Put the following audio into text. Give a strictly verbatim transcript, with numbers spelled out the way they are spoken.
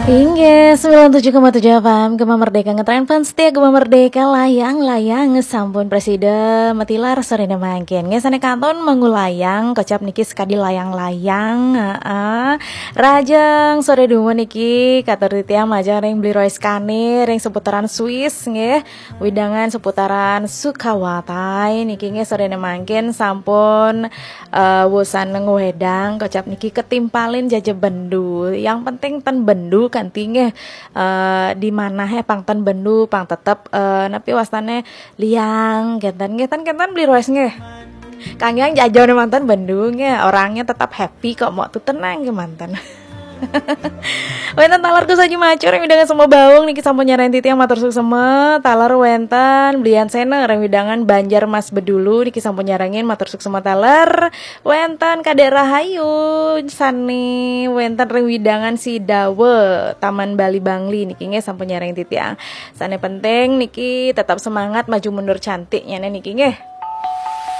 Inggih, sembilan tujuh koma tujuh F M, Gema Merdeka, ngetren fans setia Gema Merdeka, layang-layang sampun prasida matilar sorene mangkin. Nggih, sane kantun mengulayang, kocap niki sekadi layang-layang, heeh. Rajeng sore dumun niki, katur titiang majeng ring Bli Rois Kane, ring seputaran Swiss, nggih. Widangan seputaran Sukawati, niki nggih sorene mangkin sampun eh, wusan ngwedang, kocap niki ketimpalin jaja bendu. Yang penting ten bendu kanti nggih. Eh, di mana he pang ten bendu, pang tetep, eh, napi wastane liang, kenten nggih, ten kenten Bli Rois nggih. Kang Yang jajone manten bendu nggih, orangnya tetap happy kok, mau tuh tenang nggih manten. Wenten taler Gus Haji Macur ring widangan Sema Baung niki sampun nyarengin titiang, matur suksma. Taler wenten Blian Sena ring widangan Banjar Mas Bedulu niki sampun nyarengin, matur suksma taler. Wenten Kadek Rahayu sane wenten ring widangan Sidawa Taman Bali Bangli niki nggih sampun nyarengin titiang. Sane penting niki tetap semangat, maju mundur cantiknya niki nggih.